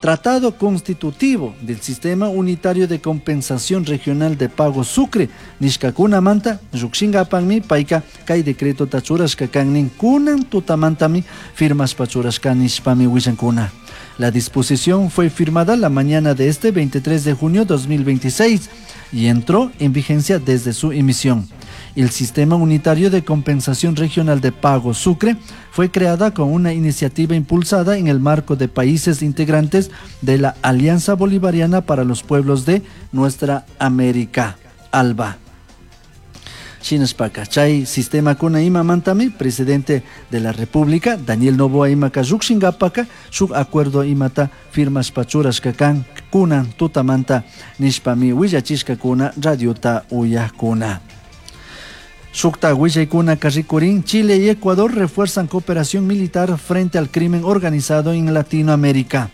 Tratado Constitutivo del Sistema Unitario de Compensación Regional de Pago Sucre nishkakunamanta llukshingapakmi payka kay decretota churashka kan nin, kunan tutamantami firmashpa churashka nishpami willankuna. La disposición fue firmada la mañana de este 23 de junio 2026 y entró en vigencia desde su emisión. El Sistema Unitario de Compensación Regional de Pago Sucre fue creada con una iniciativa impulsada en el marco de países integrantes de la Alianza Bolivariana para los Pueblos de Nuestra América, ALBA. Shinashpaka, chay sistemakuna imamantami presidente de la República, Daniel Noboa imaka llukshingapaka, shuk acuerdo imata firmashpa churashka kan, kunan tutamanta nishpami willachishkakuna radiota uyakuna. Shukta willaykuna rikurin, Chile y Ecuador refuerzan cooperación militar frente al crimen organizado en Latinoamérica.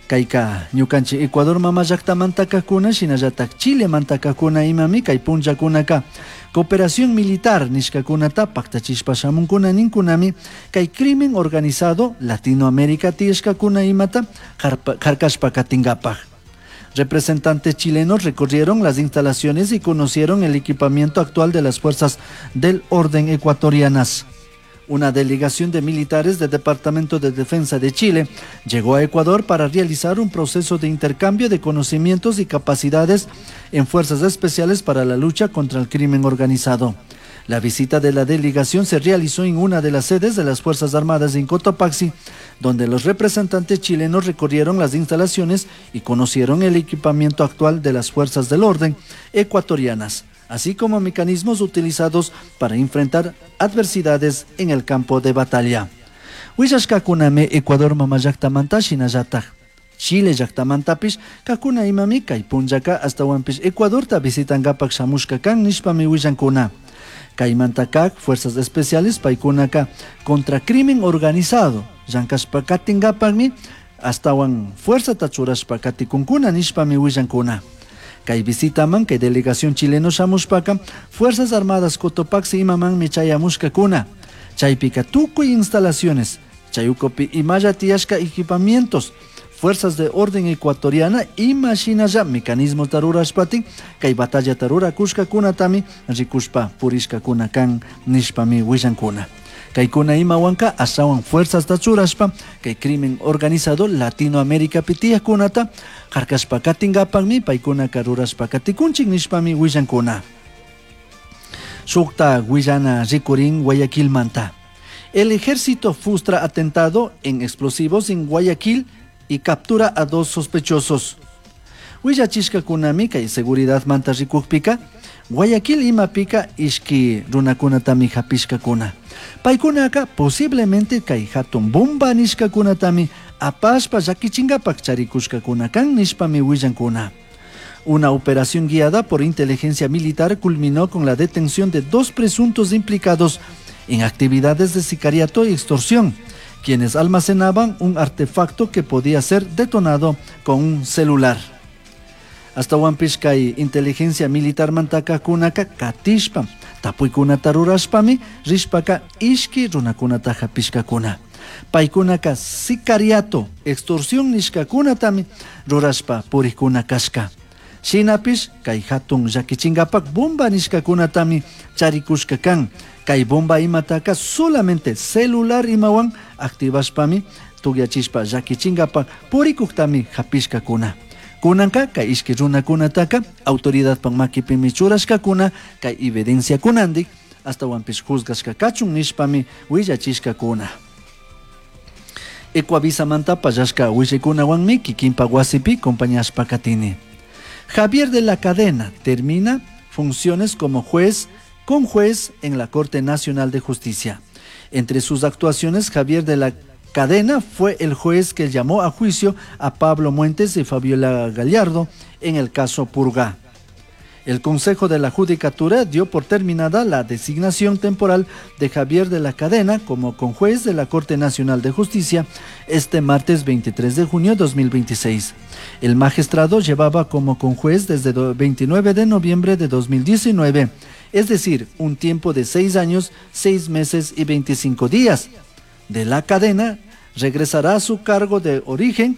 Kayka ñukanchik Ecuador mama llaktamanta kajkuna shinallatak Chile manta kajkuna imami kay punllakunaka cooperación militar nishkakunata paktachishpa shamunkuna ninkunami kay crimen organizado Latinoamérica tiyashkakuna imata harkashpa katinkapak. Representantes chilenos recorrieron las instalaciones y conocieron el equipamiento actual de las fuerzas del orden ecuatorianas. Una delegación de militares del Departamento de Defensa de Chile llegó a Ecuador para realizar un proceso de intercambio de conocimientos y capacidades en fuerzas especiales para la lucha contra el crimen organizado. La visita de la delegación se realizó en una de las sedes de las Fuerzas Armadas en Cotopaxi, donde los representantes chilenos recorrieron las instalaciones y conocieron el equipamiento actual de las fuerzas del orden ecuatorianas, así como mecanismos utilizados para enfrentar adversidades en el campo de batalla. Willashkakunami Ecuador mama llaktamanta shinallataj Chile llaktamantapish kakuna imami kay punllaka ashtawanpish Ecuadorta visitankapak shamushka kan nishpami willankuna. Kaymanta kak fuerzas especiales paykunaka contra crimen organizado llankashpa katinkapakmi ashtawan fuerzata churashpa katikunkuna nishpami willankuna. Kay visitaman kay delegación chileno shamushpaka Fuerzas Armadas Cotopaxi imamanmi chayamushkakuna. Chaypika tukuy instalaciones, chay ukupi imalla tiyashka equipamientos, fuerzas de orden ecuatoriana ima shinalla mecanismos rurashpatin kay batallata rurakushkakunatami rikushpa purishkakuna kan nishpami willankuna. Kaykuna imawanka ashawan fuerzasta churashpa kay crimen organizado Latinoaméricapi tiyakkunata harkashpa katinkapakmi paykunaka rurashpa katikunchik nishpami willankuna. Shukta willana rikurin Guayaquilmanta. El ejército frustra atentado en explosivos en Guayaquil y captura a 2 sospechosos. Willachishkakunami kay seguridad manta rikukpika, Guayaquil imapika ishki runakunatami hapishkakuna. Paykunaka posiblemente kay hatun bomba nishkakunatami apashpa llakichinkapak charikushkakuna kan nishpami willankuna. Una operación guiada por inteligencia militar culminó con la detención de 2 presuntos implicados en actividades de sicariato y extorsión, quienes almacenaban un artefacto que podía ser detonado con un celular. Hasta kay inteligencia militar mantaka kunaka katishpa, tapuykunata rurashpami rishpaka ishki runakunata hapishkakuna. Paykunaka sicariato, extorsión nishkakunatami rurashpa purikuna kashka. Shinapish kay hatun llakichinkapak bomba nishkakunatami charikushka kan. Kay bomba imataka solamente celular imawan activashpami tukyachishpa llakichinkapak purikuktami hapishkakuna. Kunanka kay ishki runakunataka autoridadpak makipimi churashkakuna kay evidenciakunandik ashtawanpish juzgashka kachun nishpami willachishkakuna. Ecuavisamanta pallashka willaykunawanmi kikinpak wasipi compañashpa katini. Javier de la Cadena termina funciones como juez con juez en la Corte Nacional de Justicia. Entre sus actuaciones, Javier de la Cadena fue el juez que llamó a juicio a Pablo Muentes y Fabiola Gallardo en el caso Purga. El Consejo de la Judicatura dio por terminada la designación temporal de Javier de la Cadena como conjuez de la Corte Nacional de Justicia este martes 23 de junio de 2026. El magistrado llevaba como conjuez desde 29 de noviembre de 2019, es decir, un tiempo de 6 años, 6 meses y 25 días. De la Cadena regresará a su cargo de origen